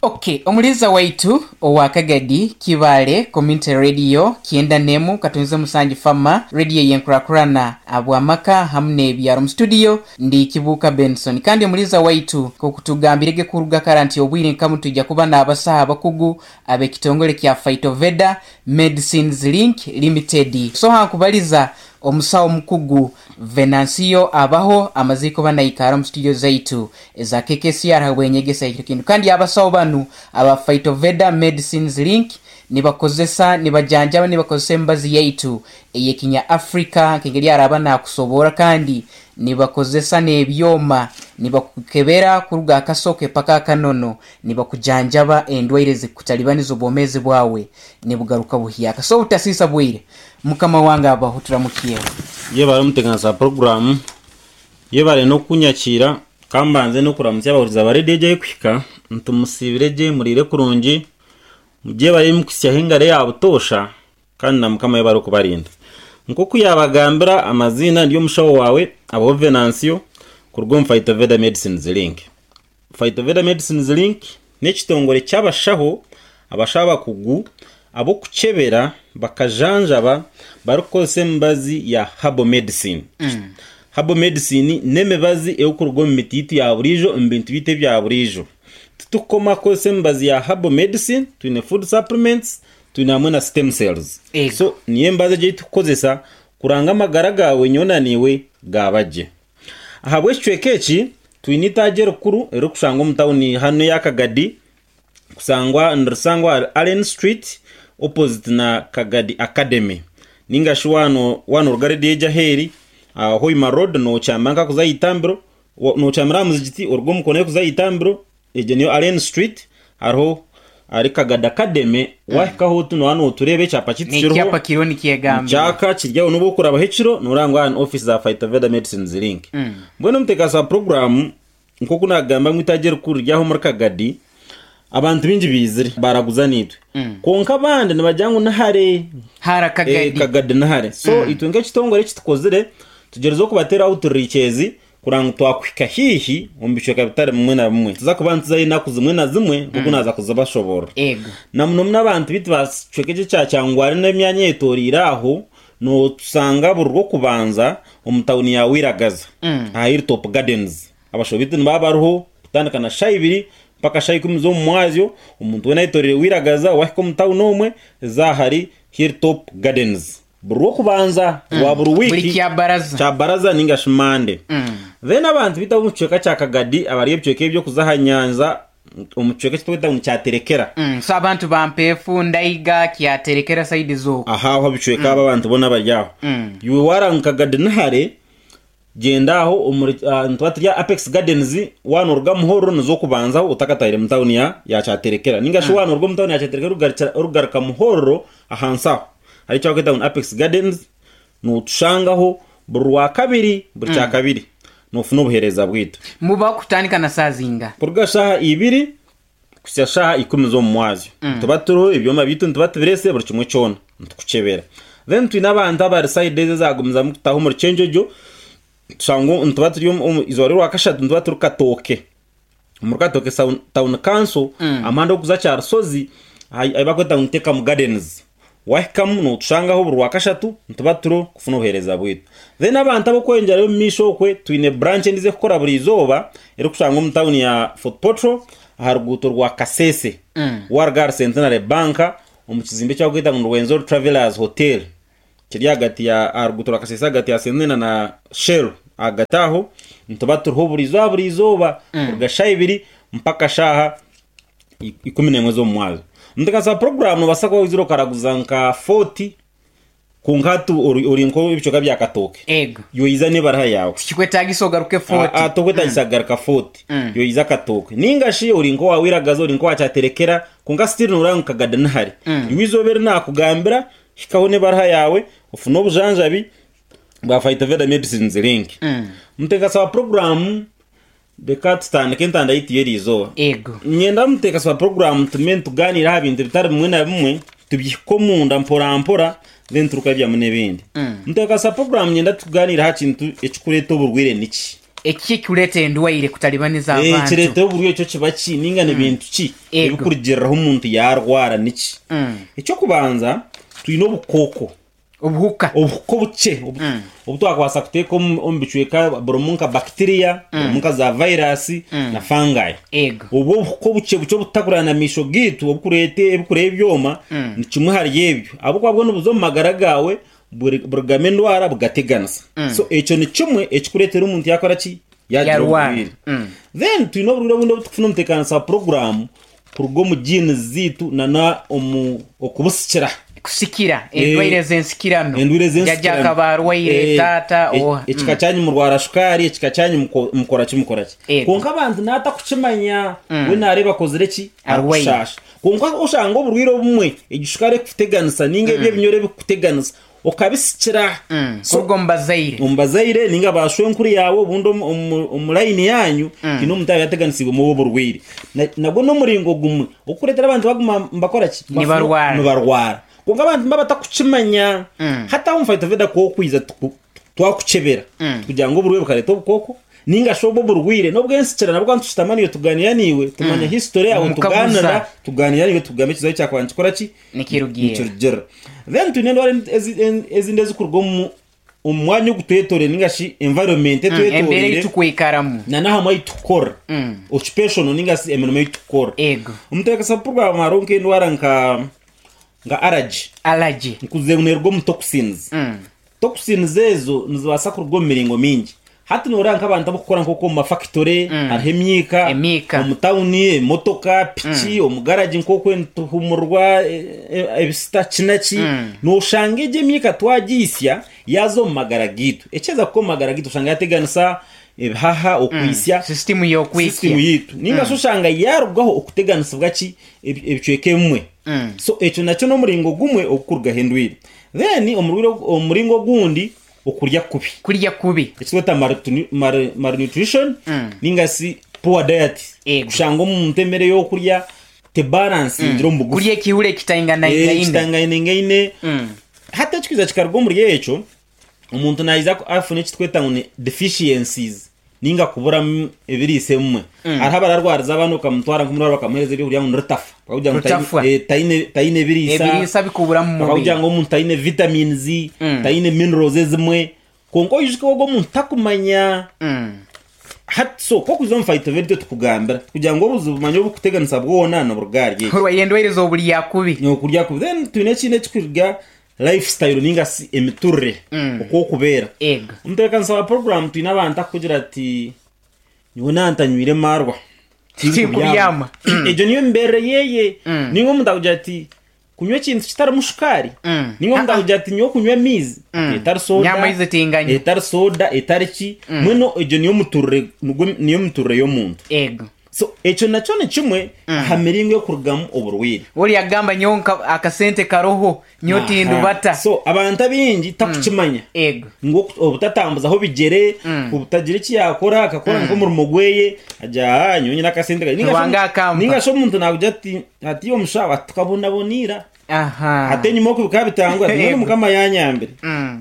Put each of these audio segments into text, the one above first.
Ok, omuliiza waitu owa Kagadi Kibaale Community Radio kyenda n'emu katonze musanju Fama Radio ey'enkurakurana ahabw'amaka hamu n'ebyaro. Mu studio ndi Kibuuka Benson kandi omuliiza waitu nk'oku tugambirege kuruga kara nti obwire nka bunu twija kuba n'abasaho abakugu ab'ekitongole kya Phytoveda Medicines Link Limited. So hankubaliza Omusawo omukugu Venancio abaho amazire kuba naikara omu studio zaitu eza KKCR habw'enyegesa y'ekiro kinu. Kandi abasawo banu aba Phytoveda Medicines Link nibakozesa, nibajanjaba nibakozesa emibazi yaitu ey'ekinya Africa nk'engeri araaba nakusoborra kandi nibakozesa n'ebyoma nibakukebera kuruga aha kasoke paka aha kanono nibakujanjaba endwaire ezikukutalibaniza obwomeezi bwawe nibugaruka buhyaka. So obutasiisa bwire Mukama wange abaho turamukyeho. Yebare omuteganisa wa puroguraamu, yebare n'okunyakiira. Ka mbanze n'okuramutsya abahurikiza ba rediyo egi erikuhika nti musiibire gye, muriire kurungi, mugyebare mukuhitsyaho engaro eya butoosha kandi na Mukama yebare okubarinda. Nk'oku yaabagambira amaziina ndi omushaho waawe Abaho Venancio kuruga omu Phytoveda Medicines Link. Phytoveda Medicines Link n'ekitongore ky'abashaho, abashaho abakugu ab'okukyebera bakajanjaba barikukozesa emibazi ya herbal medicine. Herbal medicine n'emibazi erikuruga omu miti yaitu ya buriijo, omu bintu byaitu ebya buriijo. Titurikukoma kukozesa emibazi ya herbal medicine, twine food supplements, twine hamwe na stem cells. Ego. So niyo emibazi egi ei turikukozesa kuranga amagara gaawe nyowe na naiwe gaaba gye. Ahabw'ekicweka eki, twine eitaagi erikuru erikushangwa omu tauni hanu eya Kagadi, kusangwa nirisangwa ahari Allen Street opposite na Kagadi Academy. Ninga shi waaba noruga rediyo egi ahu eri, aha Hoima Road nokyama nkakuza aha itambiro, nokyamira aha muzigiti oruge omu koona erikuza aha itambiro, Egyo niyo Allen Street, hariho ahari Kagadi Academy, waahikaho oti nooba nootureeba ekyapa kyaitu kiriho. N'ekyapa kiriho nikyegambira. Nikyaka kiri aho n'obu okurabaho ekiro nooreeba ngu aha ni ofiisi za Phytoveda Medicines Link. Mbwenu omuteekateesi wa puroguraamu nk'oku naagamba ngu eitaagi erikuru riri aho omuri Kagadi, abantu baingi baizire baaraguza naitwe. Kwonka abandi nibagira ngu ni hare. Hara Kagadi. Kagadi ni hare. So itwe nk'ekitongore eki tukozire, tugyerizeho kubateera outreach ezi Kurora ngu twakuhika haihi omu bicweka bitari bimwe na bimwe. Nituza kuba nituzayo enaku zimwe na zimwe nk'oku naaza kuzibashoboorora. Ego. Na muno muno abantu baitu ba kicweka eki ekya Kyangwali n'emyanya eyetoreire aho, nootusanga buri Rwokubanza omu tauni ya Wiragaza aha Hilltop Gardens. Abashaho baitu nibaba bariho kutandika na shaaha ibiri mpaka shaaha ikumi z'omu mwazyo. Omuntu weena ayetoreire Wiragaza waahika omu tauni omwe, za ahari Hilltop Gardens. Buri Rwokubanza rwa buri Buri wiiki kyabaraza. kyabaraza ninga shi Mande. Then abantu baitu ab'omu kicweka kya Kagadi abari ebicweka eby'okuza aha nyanja omu kicweka eki turikweta ngu ni Kyaterekera. So abantu ba Mpeefu, Ndaiga, Kyaterekera sayidi z'okwo. Aha aho ebicweka abo abantu boona bari aho. Iwe waaraba ngu Kagadi ni hare, Gyenda aho omuri nituba turi aha Apex Gardens waaba noruga Muhorro nizo okubanzaho otakatahire mu tawuni ya ya Kyaterekera ninga shi waaba noruga omu tawuni ya Kyaterekera orikugarukira orikugaruka Muhorro ahansi aho hariho eki barikweta ngu ni Apex Gardens notushangaho buri Rwakabiri buri Kyakabiri nofuna obuheereza bwaitu. Mubaho kutandika na saaha zinga? Kuruga shaaha ibiri kuhitsya shaaha ikumi z'omu mwazyo. Nituba turiho, ebyoma byaitu nituba tubireesire, buri kimwe kyona nitukukyebera. Then twine abantu abari sayidi ezi ezagumizamu kutaha omuri Kyenjojo, tushanga ngu nituba turi omu izooba ry'orwakashatu nituba turi Katooke, omuri Katooke Town Council, aha muhanda ogurikuza Kyarusozi ahu barikweta ngu ni Tekamu Gardens. Wahikamu notushangaho buri Rwakashatu nituba turiho kufuna obuheereza bwaitu. Then abantu ab'okweyongyerayo omu maisho okwe twine branch endiijo erikukora buri izooba erikushangwa omu tawuni ya Fort Portal aha ruguuto rwa Kasese. Waruga ahari Centenary Bank omu kizimbe eki barikweta ngu ni Rwenzori Travellers Hotel kiri ahagati ya aha ruguuto rwa Kasese ahagati ya Centenary na Shell ahagati aho nituba turiho buri izooba buri izooba kuruga shaaha ibiri mpaka shaaha 11 z'omu mwazyo. Omutebeekanisa wa puroguraamu noobaasa kuba waizire okaraguza nka 40 kwonka hati ori nk'ebicweka bya Katooke. Ego. Yoiza n'ebaruha yaawe. Tikikwetaagisa ogaruke 40. Ah, ah, tokwetaagisa kugaruka 40. Yoiza Katooke. Ninga shi ori nk'owa Wiragaza, ori nk'owa Kyaterekera, kwonka still nooreba ngu Kagadi ni hare. Iwe eizooba eri naakugambira, hikaho n'ebaruha yaawe, ofune obujanjabi bwa Phytoveda Medicines Link. Omutebeekanisa wa puroguraamu Reka tutandike entanda yaitu y'eriizooba. Ego. Niinyenda muteekasi wa puroguraamu tugume nitugaaniira aha bintu bitari bimwe na bimwe, tubihike omunda mporampora then turikubyamu n'ebindi. Muteekasi wa puroguraamu niinyenda tugaaniire aha kintu ekirikureeta oburwaire niki? Eki ekikureeta endwaire kutalibaniza abantu? Ekireetaho oburwaire ekyo kiba ki ninga ni bintu ki Ego. ebikurugiriraho omuntu yaarwara niki? Mm. Eky'okubanza twine obukooko. Obuhuka. Obuhuka obukye obu Mm. obu twakubaasa kuteeka omu omu bicweka burimu nka bacteria, burimu nka za virus na fungi. Ego. Obwo obuhuka obukye bukye obututakureba na maisho gaitu obukureeta ebikureba ebyoma ni kimwe ahari ebyo. Ahabw'okuba bwo nibuza omu magara gaawe buri- burugamu endwara bugateganisa. So ekyo ni kimwe ekikureetera omuntu yaakora ki? Yaagira Yarwara. oburwaire. Then twine oburwaire obundi obu turikufuna omu tebeekanisa ya puroguraamu kuruga omu genes zaitu nana omu okubusikira. Kusikira, Eh, endwaire ez'ensikirano. Endwaire Jajja ez'ensikirano. akaba arwaire, Eh, taata, e- oha. ekika kyanyu murwara shukaari, ekika kyanyu muko- mukora ki mukora ki. Ego. Kwonka abantu naatakukimanya, we naareeba akozire ki? Arwaire. Arikushaasha. Kwonka oshanga oburwaire obumwe, egi shukaari ekukuteganisa ninga ebi ebinyoro ebikukuteganisa, okabisikira. So, Kuruga omu bazaire. omu bazaire ninga ba shwenkuru yaawe obundi omu- omu omu layini yaanyu haine omuntu yaaba yateganisibwemu obwo oburwaire. Na- Nagwo n'omuringo gumwe ogurikureetera abantu baguma nibakora ki? Bafuna- Nibarwara. Nibarwara. Kwonka abantu nibaba batakukimanya. Hati aho omu Phytoveda ku okwija tuku- twakukyebera kugira ngu oburwaire bukareeta obukooko ninga shi obwo oburwaire n'obwensikira nabwo nitushutama naiwe tuganira naiwe tumanya history yawe Mukaguza. tuganira tuganira naiwe tugamba ekizibu ekyakuba nikikora ki Nikirugiirira. nikirugirira then twine endwara ezi- ezindi ezikuruga omu omu mwanya ogutwetoreire ninga shi environment Embeera ei etwetoreire tukwikaramu. na n'ahamwe ahu tukukora occupational ninga shi emirimo ei tukukora Ego. omuteekasa program hariho nk'endwara nka nka allergy Allergy. nkuze neeruga omu toxins Toxins ezo nizibaasa kuruga omu miringo mingi. Hati noreeba nk'abantu abarikukora nk'oku omu mafakitore hariho emyika, Emyika. omu tawuni emotoka, piki, omu garagi nk'oku nituhumurwa ebisita ki na ki, noshanga egyo emyika twagiitsya yaaza omu magara gaitu. Ekyeza kuhika omu magara gaitu oshanga yateganisa ebihaha, okwitsya, Sisitimu y'okwitsya. sisitimu yaitu. Ninga shi oshanga yaarugaho okuteganisibwa ki ebicweka ebimwe. So ekyo nakyo n'omuringo gumwe ogurikurugaho endwaire. Then omuringo ogundi okurya kubi. Kurya kubi. Ekitweta malnutrition ninga shi poor diet. Ego. Kushanga omuntu emere ey'okurya tebaransingire omu bugufu. Kurya ekihura ekitainganaingaine. Ekitainganaingaine. Hati ekikwiza kikaruga omuri ekyo, omuntu naija afune ekitweta ngu ni deficiencies. Ninga kuburamu ebiriisa ebimwe. Hariho abararwariza abaana okamutwara nk'omurwaro bakamuheereza ebyokurya ngu ni rutafa. Bakakugira ngu taine- Rutafwa. eh, taine taine ebiriisa. Ebiriisa bikubura mu mubiri. Bakakugira ngu omuntu taine vitamins, taine minerals ezimwe. Kwonka oijuke ogwo omuntu takumanya. Hati so ku okuza omu Phytoved itwe tukugambira kugira ngu obuzibu manya obukuteganisa bwona niburuga ahari eki. Orwaire endwaire z'oburya kubi. Okurya kubi. Then twine ekindi ekikuruga lifestyle ninga shi emiturire oku orikubeera. Ego. Omutebeekanisa wa puroguraamu twine abantu arikugira ati nyowe naaba ntanywire maarwa Tinkubyama. Egyo niyo mibeerere yeye. Ninga omuntu akugira ati kunywa ekintu kitarimu shukaari. Ninga omuntu akugira ati nyowe kunywa amaizi etari soda. Nyowe amaizi tinganywa. Etari soda etari ki. Mbwenu egyo niyo miturire niyo miturire y'omuntu. Ego. So ekyo nakyo ni kimwe aha miringo erikurugamu oburwaire. Ori agamba nyowe nka akasente karoho nyowe tindubata. So abantu abaingi takukimanya Ego. ngu obutatambuzaho bigyere, obutagira eki yakora akakora nk'omurimo gweye agira aa nyowe nyine akasente kangye. Ninga shi Ruhanga akampa. ninga shi omuntu nakugira ati hati omushaho ati tukabonabona ira. Aha. Hati enyima oku bikaba bitanguha ati mbwenu Mukama yanyambire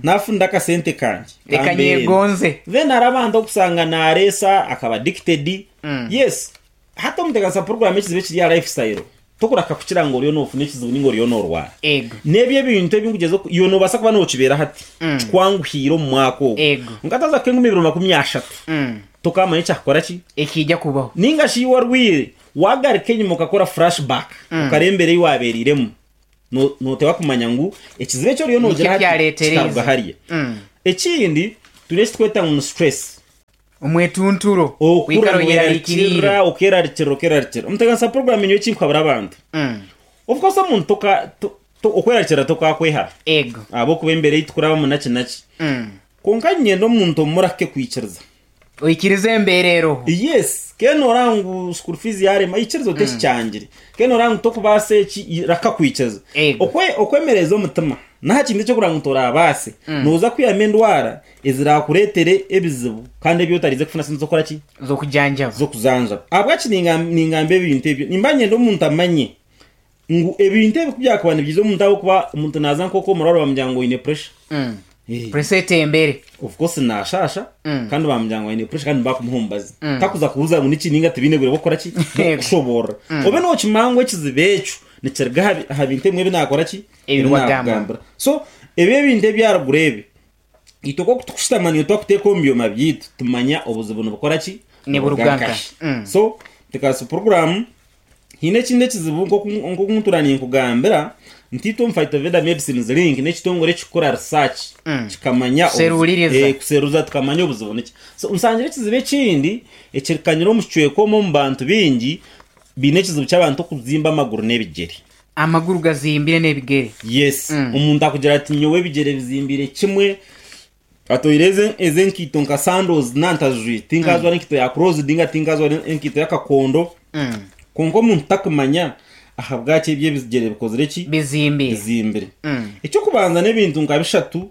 nafunire akasente kangye Reka kambeere. nyegonze. Then hariho abantu okusanga nareesa akaba addicted. Yes, hati omuteganisa program ekizibu ekiri aha lifestyle tokuraka kukira ngu oriyo nofuna ekizibu ninga oriyo norwara. Ego. N'ebyo ebintu ebi nkugyeza oku iwe nobaasa kuba nokibeera hati kikwanguhiire omu mwaka ogu. Ego. Kwonka hati haza kuhika enkumi ibiri 30 tokamanya ekyakukora ki. Ekiija kubaho. Ninga shi iwe orwire wagaruka enyima okakora flashback okareeba embeera ei wabeereiremu noteeba kumanya ngu ekizibu eki oriyo nogira Nikyo hati kyareetereize. kikaruga hariya. Ekindi twine eki turikweta ngu ni stress. Omwetunturo, Okura kwikara oyerarikiriire. noyerarikirira, okerarikirira, okerarikirira. Omuteganisa puroguramu nyowe eki nkuhabura abantu. Of course omuntu toka, to, to, okwerarikirira tokakwehara. Ego. Ahabw'okuba embeera ei tukurabamu naki naki. Kwonka niinyenda omuntu omurake kwikiriza. Oikirize embeera eroho. Yes, kene oraba ngu school fees yarema, ikiriza oti eki kyangire. Kene oraba ngu tokubaasa eki, raka kwikiriza. Ego. Okwe, okwemereza omutima n'aha kintu eky'okureba ngu torabaase, nooza kwihamu endwara eziraakureetere ebizibu kandi ebi otariize kufuna sente z'okukora ki? Z'okujanjaba. Z'okujanjaba. Ahabwaki ningamba ebintu ebyo? Nimba niinyenda omuntu amanye ngu ebintu ebi ku byakuba nibiiza omuntu ahabw'okuba omuntu naaza nk'oku omurwaire bamugira ngu oine pressure. Pressure etembere. Of course nashasha kandi bamugira ngu aine pressure kandi nibakumuha omubazi. Takuza kubuuza ngu niki ninga tibaine bwire bw'okukora ki? Bw'okukushoboorora. Obe nokimanya ngu ekizibu ekyo nikiruga aha bi- aha bintu ebimwe ebi nakora ki? Ebi Ebi wagamba. nakugambira. So ebi ebintu ebyaruguru ebi, itwe nk'oku tukushutama niiwe twakuteeka omu byoma byaitu tumanya obuzibu nibukora ki? Niburuga Niburuga nkahi. nkahi. So Tekasi program Haine ekindi ekizibu nk'oku nk'oku ntuura ninkugambira nti itwe omu Phytoveda Medicines Link n'ekitongore ekikukora research kikamanya obuzi- Kuseruuririza. eh, kuseruza tukamanya obuzibu niki. So nshangire ekizibu ekindi ekirikanyire omu kicweka omu omu bantu baingi baine ekizibu ky'abantu okuzimba amaguru n'ebigyere. Amaguru gazimbire n'ebigere. Yes, omuntu akugira ati nyowe ebigyere bizimbiire kimwe Atoire ezi ezi enkaito nka sandals nantazijwire tinkajwara enkaito ya closed ninga tinkajwara enkaito y'akakondo kwonka omuntu takumanya ahabwaki ebyo ebigyere bikozire ki Bizimbire. bizimbire eky'okubanza n'ebintu nka bishatu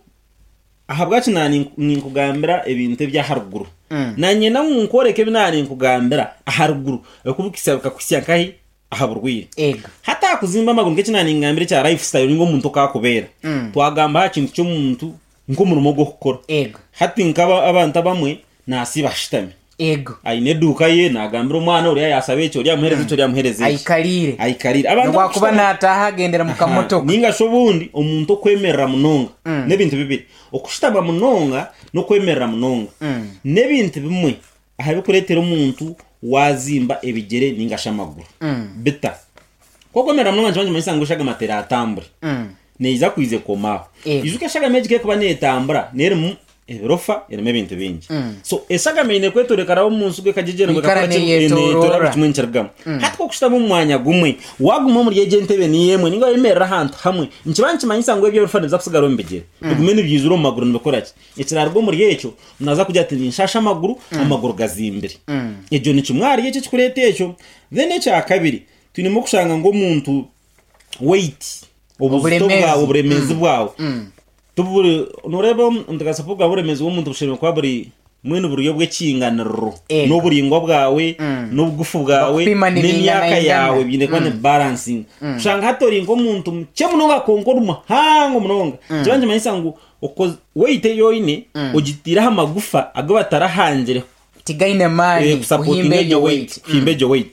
ahabwaki na ninkugambira ebintu eby'aharuguru nanyenda ngu nkworeke ebi naninkugambira aharuguru okubikuhitsya bikakuhitsya nkahi aha burwaire. Ego. Hati aha kuzimba amaguru nk'eki naaningambira ekya lifestyle ninga omuntu oku akubeera. Twagamba aha kintu ky'omuntu nk'omurimo gw'okukora. Ego. Hati nk'aba abantu abamwe naasiiba ashutami. Ego. Aine eduuka ye, naagambira omwana oriya yaashaba eki, oriya amuheereza eki, oriya amuheereza eki. Aikariire. Aikariire. Abantu N'obu akuba abakushutama- naataaha agendera mu kamotoka. Ninga shi obundi omuntu okwemerera munonga n'ebintu bibiri. Okushutama munonga n'okwemerera munonga n'ebintu bimwe Aha bikureetera omuntu waazimba ebigyere ninga shi amaguru. Bita? Ku okwemerera munonga nikiba nikimanyisa ngu eshagama teratambure. Neija kwija ekome aho. Ego. Ijuka eshagama egi ku erikuba neetambura neerimu ebirofa erimu ebintu bingi. So eshagama eine kwetoora ekaraba omu nsi ekagyegyerwa Kwikara ekakora ki? neyetoorora. Neetoora buri kimwe nikirugamu. Hati ku okushutama omu mwanya gumwe, waaguma omuri egyo entebe niyo emwe ninga wayemerera ahantu hamwe, nikiba nikimanyisa ngu ebyo ebirofa nibiza kusigara omu bigyere. Bigume nibyijura omu maguru nibikora ki? Ekiraaruga omuri ekyo, naaza kugira ati ninshaasha amaguru, amaguru gazimbire. Egyo ni kimwe ahari ekyo ekikureeta ekyo. Then ekya kabiri, twinemu okushanga ngu omuntu weight, obuzito Oburemeezi. bwawe, oburemeezi bwawe, tiburi, nooreeba omuteekateeko bwa oburemeezi bw'omuntu bushemereire kuba buri mbwenu buri obw'ekinganiriro. Ego. N'oburaingwa bwawe, n'obugufu bwawe, Bakupima n'emyaka nibinganaingana. yaawe biine kuba ni balansinga. Kushanga hati ori nk'omuntu mukye munonga kwonka ori muhango munonga, nikiba nikimanyisa ngu Okoz- weight ei oine ogitiire aha magufa agu batarahangire Tigaine maani eh, kusapotinga kuhimba egyo egyo weight weight. kuhimba egyo weight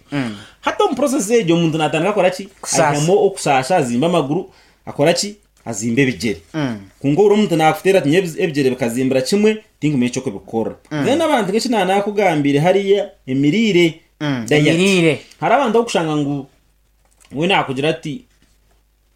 hati omu process egyo omuntu natandika akora ki Kusaasa. aihamu okusaasha azimba amaguru akora ki azimba ebigyere kwonka obure omuntu nakuteera ati nyowe ebigyere bikazimbira kimwe tinkumanya eky'okubikora then abantu nk'eki nanakugambiire hariya emiriire diet. Emiriire. Hariho abantu abokushanga ngu we nakugira ati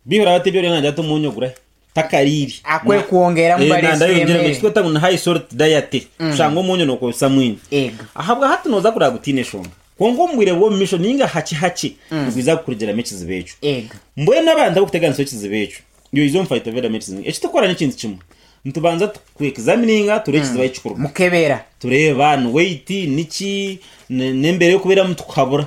Bihura bati eby'orya nangye ati omwonyo gurahi? Takariire. Akwekwongeramu Eh, baresi nanda yongyeramu emere. ekitweta ngu ni high salt diet. Kushanga omwonyo nokozesa mwingi. Ego. Ahabwa hati noza kureba gutiine eshonga. Kwonka omu bwire bw'omu maisho ninga hakye hakye nigwiza kukurugiramu ekizibu ekyo. Ego. Mbwenu abantu abarikuteganisa ekizibu ekyo, yoize omu Phytoveda Medicine, eki turikukora n'ekintu kimwe. Nitubanza tuku examininga tureebe ekizibu ahu kirikuruga. Mukebera. Tureeba ni weight, niki, n'embeera ei orikubeeramu tukuhabura.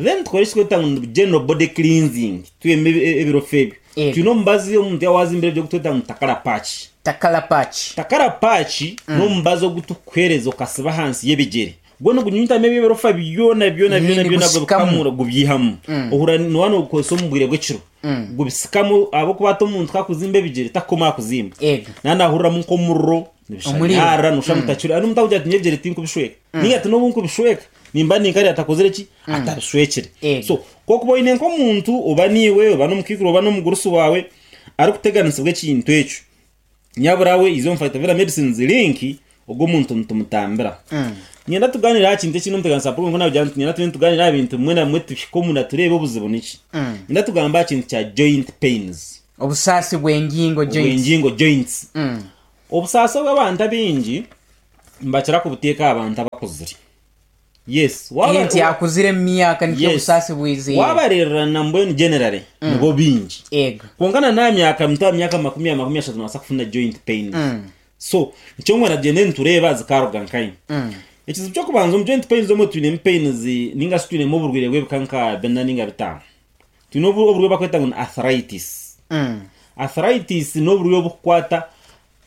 Then tukore eki turikweta ngu ni general body cleansing, twihemu ebirofa ebyo. Yego. Twine omubazi omuntu yaaba wazimbire ebyo ogu turikweta ngu ni takara patch. Takara patch. Takara patch n'omubazi ogu turikukuheereza okasiba ahansi y'ebigyere. Gwo nigunyunyutamu ebyo ebirofa byona byona byona byona Nigusikamu. gubikamura gubyihamu. Ohurira nooba noogukozesa omu bwire bw'ekiro. Gubisikamu ahabw'okuba hati omuntu ku akuzimba ebigyere takukoma aha kuzimba. Yego. Naaba naahuriramu nk'omuriro, Omuriro. nibishanyarara nooshusha ngu takiri. Hariho omuntu arikugira ati nyowe ebigyere tinkubishweka. Ninga ati n'obu nkubishweka nimba ni nkariya atakozire ki? Atabishwekire. Yego. So ku okuba oine nk'omuntu oba niiwe oba n'omukaikuru oba n'omugurusi waawe arikuteganisibwa ekintu ekyo, Nyabura we iza omu Phytoveda Medicines link ogwo omuntu nitumutambira. Niinyenda tugaaniire aha kintu ekindi omuteganisa Paul nk'oku naabigira nti niinyenda tube nitugaaniira aha bintu bimwe na bimwe tuhike omunda tureebe obuzibu niki. Niinyenda tugambe aha kintu kya joint pains. Obusaasi bw'engingo, joints. Obw'engingo, joints. Obusaasi obu abantu abaingi nibakira kubuteeka aha bantu abakuzire. Yes, waaba- Nti akuzire omu myaka nikyo Yes. obusaasi bwiziire. Waabareererana mbwenu generally nibo baingi. Ego. Kwonka na n'aha myaka mito aha myaka 20, 30 noobaasa kufuna joint pains. So, nikyo ngu tugyende nitureeba zikaaruga nkahi. Ekizibu ky'okubanza omu joint pains omwe twinemu pains ninga shi twinemu oburwaire bw'ebika nka bina ninga bitaano. Twine obu oburwaire obu barikweta ngu ni arthritis. Arthritis n'oburwaire oburikukwata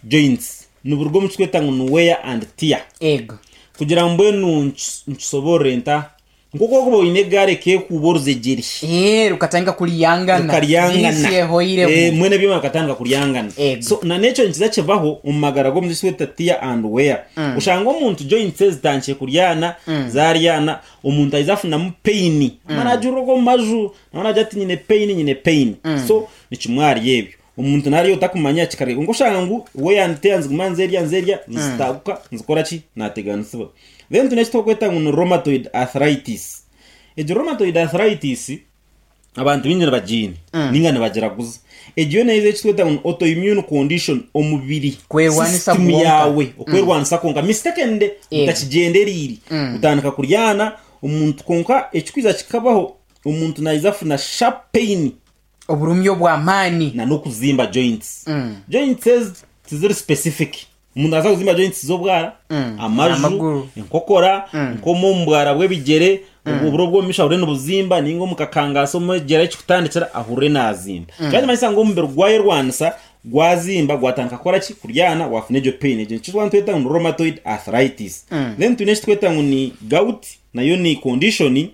joints. Niburuga omu kirikweta ngu ni wear and tear. Ego. Kugira ngu mbwenu nkisoboorore nta? Nk'oku orikuba oine egaari ekeekuuba oruzegyere. Ee, rukatandika kuryangana. Rukaryangana. Grease ehoiremu. Eh, mbwenu ebyoma bikatandika kuryangana. Ego. So na n'ekyo nikiza kibaho omu magara g'omuntu eki tweta tear and wear. Oshanga omuntu joints ze zitandikire kuryana, zaryana, omuntu aija afunamu pain. Amara agirira okwo omu maju, nawe naagira ati nyine pain, nyine pain. So ni kimwe ahari ebyo. Omuntu naarya otakumanya kikarya. Kwonka oshanga ngu wear and tear niziguma nizerya nizerya, nizitaguka, nizikora ki? Naateganisibwa. Then twine eki turikweta ngu ni rheumatoid arthritis. Egi rheumatoid arthritis abantu baingi nibagiine ninga nibagiraguza. Egi yo neeza eki tweta ngu ni autoimmune condition omubiri Kwerwanisa system kwonka. yaawe okwerwanisa kwonka mistakenly otakigyendereire otandika kuryana omuntu kwonka ekikwiza kikabaho omuntu naija afuna sharp pain Oburumi obw'amaani. Na n'okuzimba joints. Joints ezi tiziri specific. Omuntu naabaasa kuzimba joints z'obwara, amaju, Amaguru. enkokora, nk'omu omu bwara bw'ebigyere, oburo obw'omu maisho ahurire nibuzimba, nainga omu kakangaasi omu egyere ekikutandikira ahurire naazimba. Kyaba nikimanyisa ngu omubiri gwayerwanisa gwazimba gwatandika kukora ki? Kuryana waafuna egyo pain. Egyo nikyo twaba nitweta ngu ni rheumatoid arthritis. Then twine eki tweta ngu ni gout, nayo ni condition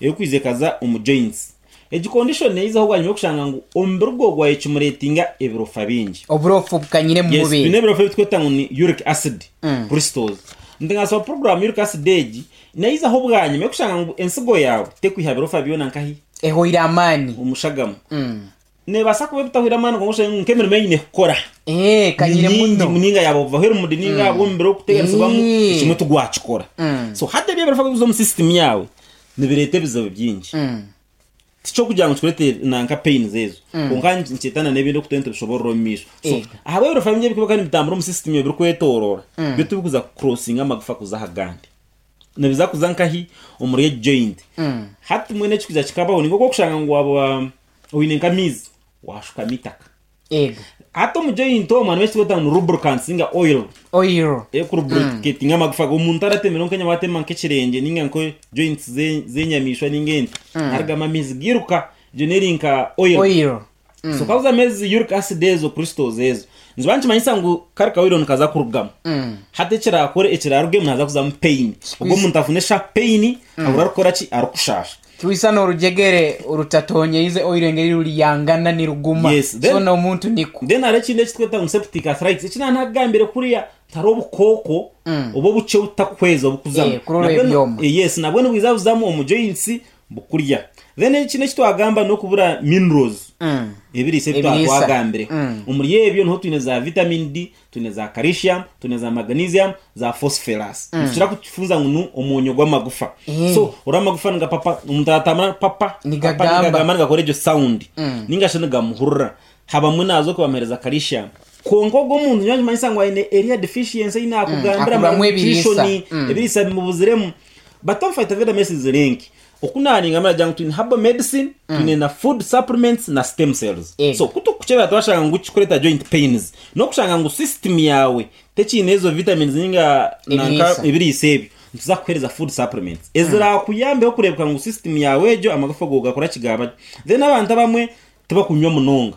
erikwija ekaza omu joints. Egi condition neizaho bwanyima yokushanga ngu omubiri gwe gwayekimuretinga ebirofa bingi. Oburofa bukanyire omu Yes, mubiri. twine ebirofa ebi tukweta ngu ni uric acid crystals. Nitugasaba program uric acid egi neizaho bwanyima yokushanga ngu ensigo yawe tekwiha birofa byona nkahi? Ehweire amaani. Omushagama. Neebaasa kuba ebitahwire amaani kwonka oshange ngu nk'emirimo ei nyine kukora Ee, ni kanyire mingi muno. ninga yaaba obuvaho erumuri ninga ahabw'omubiri okuteganisibwamu Ee. ekimwe tigwakikora. So hati ebi ebirifa kuza omu system yaawe nibireeta ebizibu bingi. Tikyokugira ngu kikureetere nanka pains ezo kwonka nikyeta na n'ebindi oku turiyo nitubishoboorora omu maisho. So Eego. ahabw'ebirofa bingi ebirikuba nibitambura omu system yaawe birikwetooroora byo tibikuza kucrossinga amagufa kuza aha gandi. Nibiza kuza nkahi? Omuri egi joint. Hati mbwenu ekikuza kikabaho ni nk'okushanga ngu waaba oine nk'amaizi waashukamu eitaka. Ego. Hati omu joint omwo harimu ekitweta ngu ni lubricants ninga oil. Oil. Erikulubricatinga amagufa. Omuntu aratemereho nk'enyama atema nk'ekirengye ninga nka joints z'enyamaishwa ninga ente, harugamu amaizi gairuka. Egyo n'eri nka oil. Oil. So kabuza amaizi uric acid ezo crystals ezo niziba nikimanyisa ngu kari ka oil nikaza kurugamu. Hati ekirakore ekirarugemu nihaza kuzamu pain. Ogwo omuntu afune sharp pain ahurire arikukora ki arikushasha. Twisa n'orugyegere orutatonyeise oil engeri ruriyangana niruguma. Yes, So then n'omuntu nikwo. then hariho ekindi ekitweta ngu septic arthritis eki naanakugambire kuriya hariho obukooko oba obukye obutakuhweza obukuzamu. Eh, kurora Nabwo ebyoma. yes nabwo nibwiza buzamu omu joints bukurya. Then ekindi eki twagamba n'okubura minerals, ebiriisa ebi twaba Ebiriisa. twagambireho. Omuri ebyo niho twine za vitamin D, twine za calcium, twine za magnesium, za phosphorus. Nitukira kukifunza ngu ni omwonyo gw'amagufa. So ori amagufa nigapapa, omuntu aratambura papa, papa Nigagamba. nigagamba nigakora egyo sound. Ninga shi nigamuhurira. Habamwe naaza okubamuheereza calcium. Kwonka ogwo omuntu nyowe nikimanyisa ngu aine eriya deficiency ei naakugambira, Akuburamu ebiriisa. malnutrition, ebiriisa bimubuziremu. But omu Phytoveda Medicines Link, oku naaringambira naagira ngu twine herbal medicine, twine na food supplements na stem cells. Ego. So ku turikukyebera twashanga ngu kikureeta joint pains, n'okushanga ngu system yaawe tekiine ezo vitamins ninga nanka Ebiriisa. ebiriisa ebyo, nituza kukuheereza food supplements eziraakuyambeho kureebeka ngu system yaawe egyo amagufa gaawe gaakora ki gaaba gye. Then abantu abamwe tibakunywa munonga.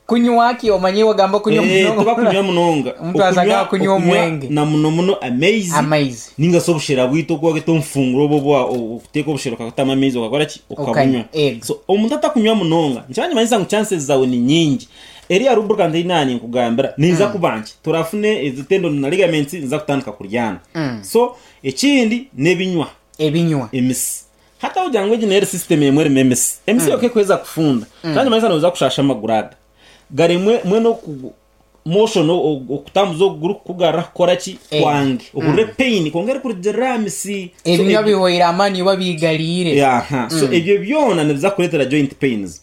Kunywa ki? Omanye wagamba kunywa Eh, munonga. tibakunywa munonga. Omuntu aza Okunywa- kunywa okunywa omwenge. na muno muno amaizi. Amaizi. Ninga se obushera bwitu oku wakweta omufunguro obwo obwa okuteeka obushera okakutamu amaizi okakora ki? Okabunywa. Okanywa, ego. So omuntu atakunywa munonga, nikiba nikimanyisa ngu chances zawe ni nyingi. Eriya lubricant ei naaninkugambira neiza kuba nkye. Torafune ezi tendon na ligaments niziza kutandika kuryana. So ekindi n'ebinywa. Ebinywa. Emisi. Hati aho ngu egi n'eri system emwe erimu emisi. Emisi yoka ekuheza kufunda. Kandi manyisa noza kushasha amaguru aga. Garemwe mbwenu oku motion okutambuza okuguru kukugarura kukora ki? Kwange. Ohurire pain kwonka erikurugirira aha misi. So Ebinywa ebyo bihweire amaani oba bigariire. Aha. So ebyo byona nibiza kukureetera joint pains.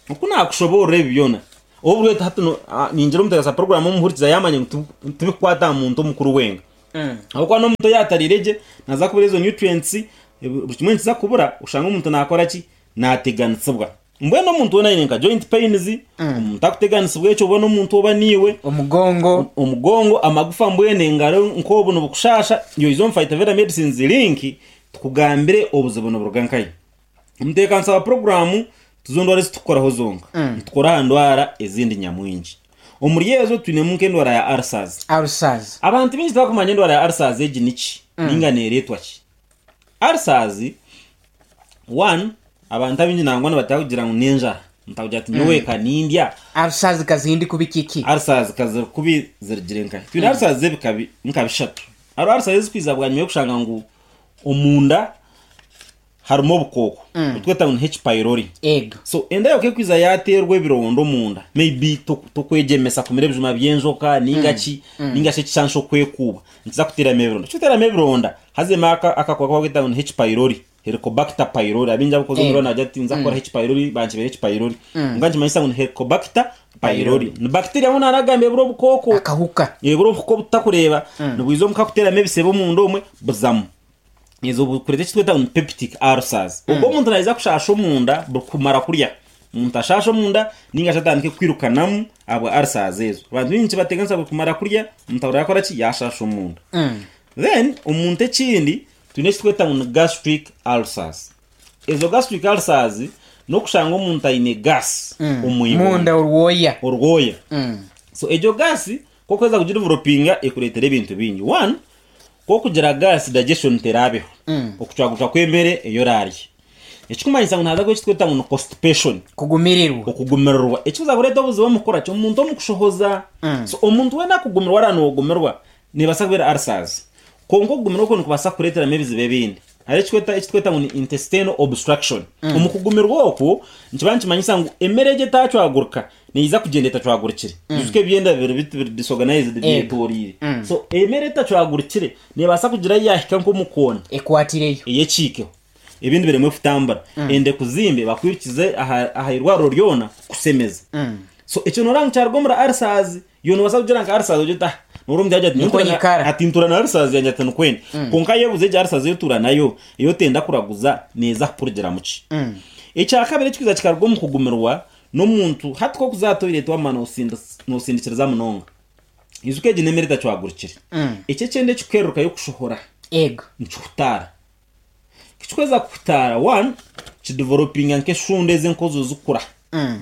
Oku naakushoboorora ebi byona, obu hati ningira omuteekateesa puroguraamu omuhurikiza yaamanya ngu tibikukwata aha muntu omukuru wenka. Ahabw'okuba n'omuntu oyaatariire gye naaza kubura ezo nutrients, buri kimwe nikiza kubura oshange omuntu naakora ki? Naateganisibwa. Mbwenu omuntu weena aine nka joint pains, omuntu arikuteganisibwa ekyo oba n'omuntu oba niiwe, Omugongo. omugongo, amagufa mbwenu engaro nk'obu nibukushaasha, yoiza omu Phytoveda Medicines link tukugambire obuzibu niburuga nkahi. Omuteekanisa wa puroguraamu tizo ndwara ezi turikukoraho zonka, nitukora aha ndwara ezindi nyamwingi. Omuri ezo twinemu nk'endwara ya ulcers. Ulcers. Abantu baingi tibakumanya endwara ya ulcers egi niki ninga neereetwa ki. Ulcers, one, abantu abaingi nangwa nibatera kugira ngu n'enjara. Omuntu akugira ati nyowe ka nindya. Ulcers ka zindi kubi kiki? Ulcers ka ziri kubi zirugire nkahi? Twine ulcers z'ebika nka bishatu. Hariho ulcers ezikwiza bwanyima y'okushanga ngu omunda harimu obukooko obutweta ngu ni H pylori. Ego. So enda yaawe ku ekwiza yaateerwa ebironda omunda, maybe tokwegyemesa kumira ebijuma by'enjoka nainga ki, nainga shi ekishansha okwekuuba, nikiza kuteeramu ebironda. Kikuteeramu ebironda, hazemu akakooko aku barikweta ngu ni H pylori, Helicobacter pylori. Abaingi abarikuza omu irwariro nibagira bati ninza kukora H pylori, bankyebere H pylori. Kwonka nikimanyisa ngu ni Helicobacter pylori. Ni bacteria mbwenu naanagamba ebura obukooko. Akahuka. Ebura obuhuka obu tutakureeba, nibwija omuka kuteeramu ebisebe omunda omwe, buzamu. Ezo bukureeta eki tweta ngu ni peptic ulcers. Obwo omuntu naija kushaasha omunda buri kumara kurya. Omuntu ashaashe omunda ninga shi atandike kwirukanamu ahabwa ulcers ezo. Abantu baingi nikibateganisa buri kumara kurya omuntu ahurira yakora ki? Yashaasha omunda. Then omuntu ekindi twine eki tweta ngu ni gastric ulcers. Ezo gastric ulcers n'okushanga omuntu aine gas omu ibondo. Munda orwoya. Orwoya. So egyo gas ku orikuheza kugidevelopinga ekureetera ebintu bingi. One, Ku okugira gaasi digestion teraabeho, okucwagucwa kw'emere ei oraarye. Ekikumanyisa ngu nihaza kubaho eki turikweta ngu ni constipation. Kugumirirwa. Okugumirirwa. Ekikuza kureeta obuzibu omu kukora ki? Omuntu omu kushohoza. So omuntu weena akugumirwa araaba noogumirwa, neebaasa kuba eri ulcers. Kwonka okugumirwa okwo nikubaasa kukureeteramu ebizibu ebindi. Hariho ekikweta eki turikweta ngu ni intestinal obstruction. Omu kugumirwa okwo, nikiba nikimanyisa ngu emere egyo etacwagurika neija kugyenda etacwagurikire. Ijuka ebyenda biri biti biri disorganized byetoreire. So emere etacwagurikire nebaasa kugira ahu yaahika nk'omu koona Ekwatireyo. eyekiikeho. Ebindi biremwe kutambura. Enda ekuzimbe bakwirukize aha aha irwariro ryona kukusemeza. So ekyo nooreba ngu kyaruga omuri ulcers. Iwe noobaasa kugira nka ulcers ogire oti ah noora omuntu yaagira ati Nikwo nyowe ntuura na nyikara. ati ntuura na ulcers yangye ati nikwo endi. Kwonka yebuuze egyo ulcers ei otuura nayo ei otenda kuraguza neeza kukurugiramu ki? Ekyakabiri ekirikwija kikaruga omu kugumirwa N'omuntu hati ku orikuza aha toilet wamara noosindikiriza munonga. Ijuka egi n'emere etacwagurikire. Eki ekyenda ekikuhererukayo kushohora Ego. nikihutaara. Ku kikuheza kuhutaara, one, kidevelopinga nk'eshundo ezi enkozo zikura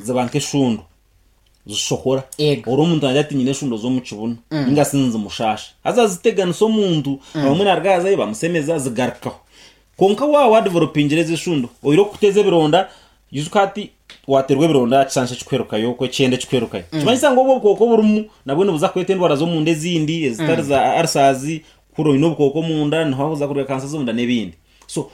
ziba nk'eshundo zishohora. Ego. Ori omuntu naagira ati nyine eshundo z'omu kibunu ninga shi nizimushaasha. Haza ziteganisa omuntu, abamwe naaruga ahazayo bamusemeza zigarukaho. Kwonka waaba wadevelopingire ezi eshundo, oine okukuteza ebironda, Ijuka hati waterwa ebironda aha kishansha ekikuherukayo okwo ekyenda ekikuherukayo. Nikimanyisa ngu obwo obukooko oburimu nabwo nibuza kweta endwara z'omunda ezindi ezitari za ulcers, kuri oine obukooko omunda niho hakuza kuruga kansa z'omunda n'ebindi. So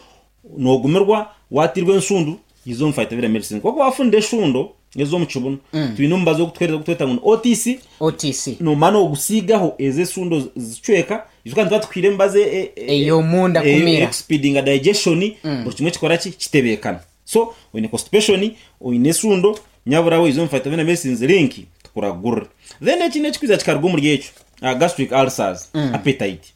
nogumirwa watirwa enshundu iza omu Phytovera Medicine. Nk'oku wafunire eshundo ez'omu kibunu, twine omubazi ogutuhereza ogutweta ngu ni OTC, OTC. nomara nogusiigaho ezo eshundo zicweka. Ijuka nituba tukuhaire emibazi Ey'omunda kumira. Erikusipiidinga digestion, buri kimwe kikora ki? Kitebeekana. So oine constipation, oine eshundo, nyabura we iza omu Phytovena Medicines link tukuragurire. Then ekindi ekikwiza kikaruga omuri ekyo, gastric ulcers, appetite.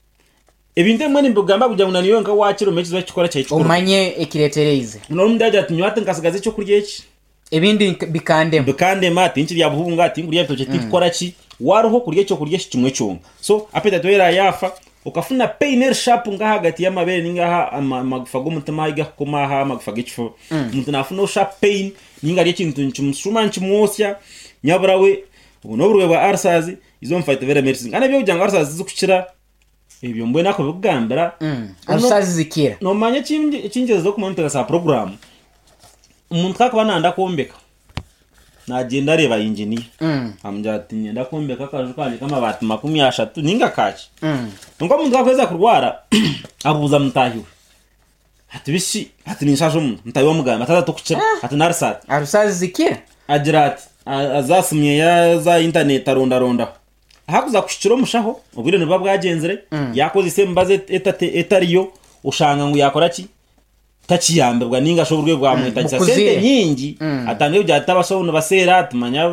Ebintu ebimwe nimbigamba kugira ngu na nyowe nka waakira omanye ekizibu ekikora kyawe kikuru. Omanye ekireetereize. Noona omuntu yaagira ati nyowe hati nkasigaza ekyokurya eki. Ebindi bikandema. Bikandema, tinkirya buhunga, tinkurya bitookye, tinkukora ki. Waruha okurya ekyokurya eki kimwe kyonka. So appetite waaba yaafa, okafuna pain eri sharp nk'ahagati y'amabeere ninga aha amagufa g'omutima ahu gakukoma aha amagufa g'ekifuba. Omuntu naafuna sharp pain ninga arya ekintu nikimushuma nikimwosya, nyabura we obwo n'oburwaire bwa ulcers, iza omu Phytovera Medicine. Kandi eby'okugira ngu ulcers tizikukira, ebyo mbwenu akubikugambira. Ulcers zikira. Noomanya ekingyerizeho kumanya omu ntebeekanisa ya puroguraamu, omuntu ku arikuba nayenda kwombeka, Naagyenda areeba inginiya amugira ati niinyenda kwombeka akaju kangye k'amabaati 30 nainga kaaki. Kwonka omuntu ku arikuheza kurwara abuuza mutaahi we ati bishi ati ninshaasha omuntu mutaahi we amugamba ati haza tokukira ati nari ati. Arusazi zikira? Agira ati aza aha simu ye aza aha intaneti arondarondaho. Ahakuza kuhikira omushaho obwire nibuba bwagyenzire yaakozesa emibazi etariyo oshanga ngu yaakora ki? Takiyambibwa ninga shi oburwaire bwamwetagisa Bukuzire. sente nyingi atandike kugira ati abashaho nibaseera tumanya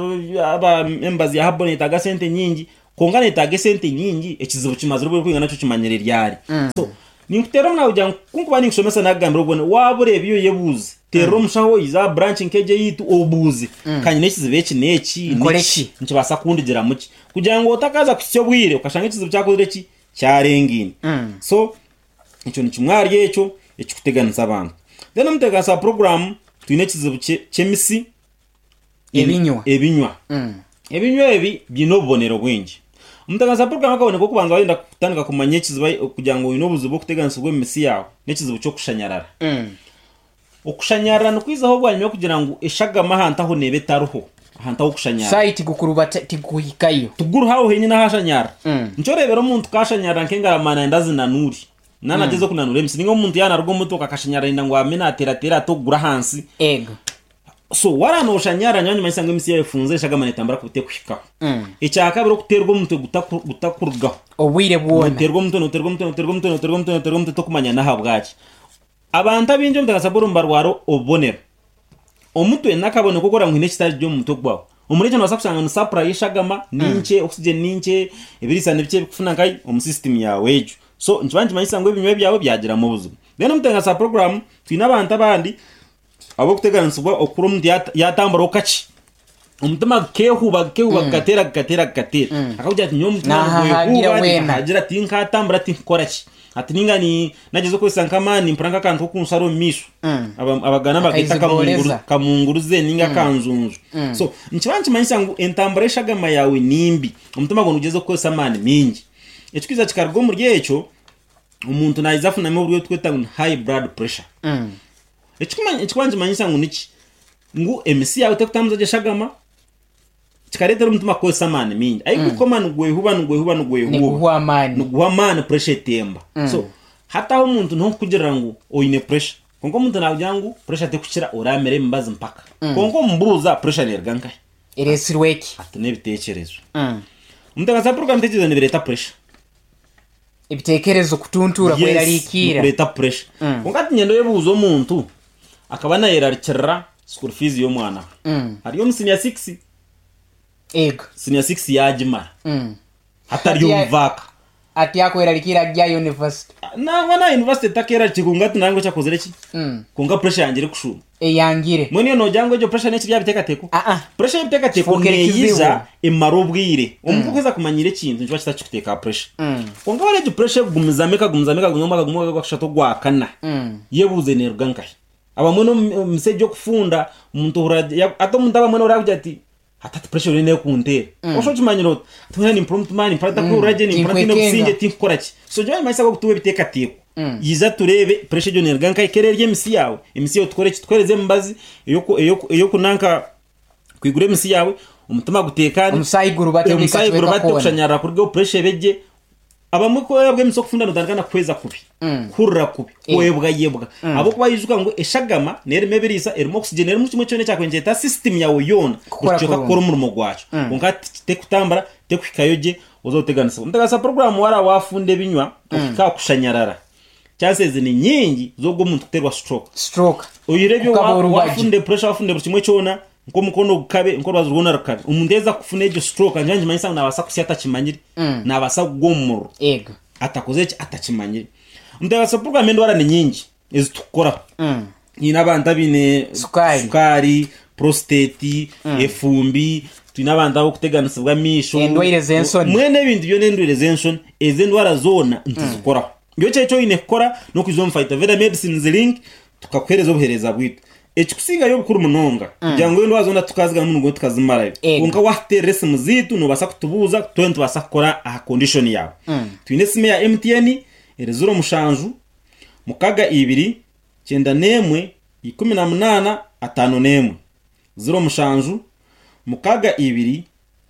aba emibazi ya habo neyetaaga sente nyingi kwonka neyetaaga esente nyingi ekizibu kimazire obwire kwinga nakyo kimanyire ryari so ninkuteera omunawe kugira ngu kunkuba ninkushomesa nakugambira obwo waaba oreeba iwe oyebuuze teerera omushaho oize aha branch nk'egi eyaitu obuuze ka nyine ekizibu eki n'eki Nkore n'eki ki? nikibaasa kundigiramu ki kugira ngu otakaaza kuhitsya obwire okashanga ekizibu kyakozire ki kyarengaine so Ekyo ni kimwe ahari ekyo ekirikuteganisa abantu. Then omu ntebeekanisa ya puroguraamu twine ekizibu ky'emisi Ebinywa. Ebinywa. Ebinywa ebi biine obubonero bwingi. Omuteganisa program akaboneka okubanza wayenda kutandika kumanya ekizibu kugira ngu oine obuzibu bw'okuteganisibwa omu misi yaawe n'ekizibu ky'okushanyarara. Okushanyarara nikwizaho bwanyima y'okugira ngu eshagama ahantu aho neeba etariho, ahantu ah'okushanyarara. Saayi tigukurubata tigukuhikayo. Tiguruho aho henyine ahashanyarara. Nikyo oreebera omuntu ku ashanyarara nk'engaramani nayenda azinanure. Naaba nagyezaho kunanura emisi. Ninga omuntu yaaba naruga omu motoka akashanyarara ayenda ngu agume naateerateera ati okuguru ahansi. Ego. So waaba noshanyarara nyowe nikimanyisa ngu emisi yaawe efunzire eshagama netambura kubi tekuhikaho. Ekyakabiri okuteerwa omutwe gutakurugaho. Obwire bwona. Noteerwa omutwe noteerwa omutwe noteerwa omutwe noteerwa omutwe noteerwa omutwe tokumanya n'ahabwaki. Abantu abaingi omu Takasaboru nibarwara obubonero. Omutwe n'akabonero k'okureba ngu haine ekitari gye omu mutwe gwawe. Omuri ekyo nobaasa kushanga ngu supply y'eshagama ni nkye, oxygen ni nkye, ebiriisa ni bikye ebikufuna nkahi omu system yaawe egyo. So nikiba nikimanyisa ngu ebinywa byawe byagiramu obuzibu. Then omu Tengasa program twine abantu abandi abarikuteganisibwa okukura omuntu yaatamburaho kakye, omutima gukeehuba gukeehuba gukateera gukateera gukateera. Akakugira ati nyowe omutima Naahahagira nigwehuba weena. ninkahagira tinkatambura tinkukora ki. Ati ninga ni nagyezaho kukozesa nk'amaani nimpurira nk'akantu k'okunshara omu maisho. Abaganda nibageeta Akaizigoreza. kamunguruze ninga akanjunju. So nikiba nikimanyisa ngu entambura y'eshagama yaawe ni mbi, omutima gwawe nigugyezaho kukozesa amaani maingi. Ekirikwija kikaruga omuri ekyo, omuntu naija afunamu oburwaire obu turikweta ngu ni high blood pressure. Ekikuba nikimanyisa ngu niki? Ngu emisi yaawe terikutambuza gye eshagama, kikareetera omutima kukozesa amaani maingi. Ahi gurikukoma nigwehuba, nigwehuba, nigwehuba. Niguhwa amaani. Niguhwa amaani pressure etemba. So hati aho omuntu niho nkukugirira ngu oine pressure. Kwonka omuntu naakugira ngu pressure terikukira oraamira emibazi mpaka. Kwonka omubuuza pressure neeruga nkahi? Ereetsirwe ki? Ati n'ebiteekyerezo. Omuntu akaza kuruga ebiteekyerezo nibireeta pressure. Ebitekerezo kutuntuura Yes, kwerarikirra. nikureeta pressure. Kwonka hati niinyenda oyebuuze omuntu akaba nayerarikirira school fees y'omwana we. Ari omu senior six, Ego. senior six yaagimara. Hati ari Hati omu vaaka. Ati akwerarikirra ari aha university. Nangwa n'aha university takeerarikirira kwonka ati nangwa eki akozire ki? Kwonka pressure yangye erikushuuma. Eyangire. Mbwenu iwe noogira ngu egyo pressure n'ekiri aha biteekateeko? Aa. Pressure y'ebiteekateeko Kifuukire neeyija kizibu. emara obwire. Omuntu ku orikuheza kumanyiira ekintu nikiba kitakikuteeka aha pressure. Kwonka wareeba egyo pressure ekugumizamu ekagumizamu ekagumizamu omwaka gumwe ogwa kushatu ogwakana, yebuuze neeruga nkahi? Abamwe n'omu misyo egi y'okufunda, omuntu ohurira hati omuntu abamwe nohurira arikugira ati hati hati pressure eriyo nekunteera. Osha okimanyire oti hati mbwenu nimpurira omutima nimpurira ntakwehurira gye nimpurira ntaine Tinkwekenga. obusingye tinkukora ki. So nyowe nimanyisa ngu okutuha ebiteekateeko yija tureebe pressure egyo neeruga nkahi ku erarya emisi yaawe, emisi yaawe tukore ki tukuheereze emibazi ey'okunanka kwigura emisi yaawe omutima guteekane, Omusaayi gurubate buri omusaayi kacweka gurubate koona. okushanyarara kurugeho pressure ebe gye. Abamwe ku orabwa emisi okufunda notandika na kuhweza kubi, kuhurira kubi, kwebwayebwa ahabw'okuba ijuka ngu eshagama n'erimu ebiriisa, erimu oxygen, erimu kimwe kyona ekyakubaire nikyeta system yaawe yoona Kukora buri kicweka kurungi. kukora omurimo gwakyo. Kwonka tekutambura, tekuhikayo gye oza oteganisibwa. Omuteganisa puroguraamu waaraba waafunda ebinywa ohika aha kushanyarara, chances ni nyingi z'ogwo omuntu kuteerwa stroke. Stroke. Oyihireho ebyo Kukaba orubaju. waafunda pressure, waafunda buri kimwe kyona, nk'omukono gukabe, nk'orubaju rwona rukabe. Omuntu yaaheza kufuna egyo stroke nikiba nikimanyisa ngu naabaasa kusya atakimanyire, naabaasa kugwa omu muriro Ego. atakozire ki? Atakimanyire. Omuteganisa puroguraamu endwara ni nyingi ezi turikukoraho. Twine abantu abaine Sukaari. sukaari, prostate, efumbi, twine abantu abarikuteganisibwa amaisho. Endwaire z'ensoni. Mbwenu ebintu byona endwaire z'enshoni, ezo endwara zoona nituzikoraho. Nyowe eki oine kukora n'okwija omu Phytoveda Medicines Link tukakuheereza obuheereza bwaitu. Ekikusingayo obukuru munonga kugira ngu endwara zoona tukazigarukamu nibwo tukazimarayo. Ego. Kwonka waatuteerera esimu zaitu noobaasa kutubuuza twena nitubaasa kukora aha condition yaawe. Twine esimu eya MTN eri ziro mushanju mukaga ibiri kyenda n'emwe 18 51. 07 62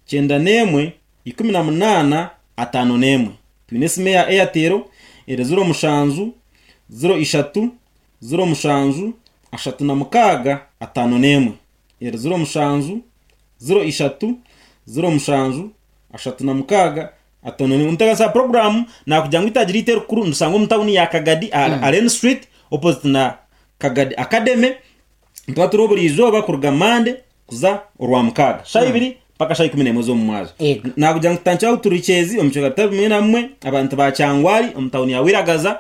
91 18 51. Twine esimu eya Airtel eri 07 03 07 36 51. Eri 07 03 07 36 51. Omuteganisa wa puroguraamu naakugira ngu eitaagi ryaitu erikuru nirishangwa omu tauni ya Kagadi aha Allen Street opposite na Kagadi Academy. Nituba turiho buri izooba kuruga Mande kuza Orwamukaaga, shaaha ibiri mpaka shaaha 11 z'omu mwazyo. Ego. Naakugira ngu tutandikire ahu turi Kyezi omu bicweka bitari bimwe na bimwe, abantu ba Kyangwali omu tauni ya Wiragaza.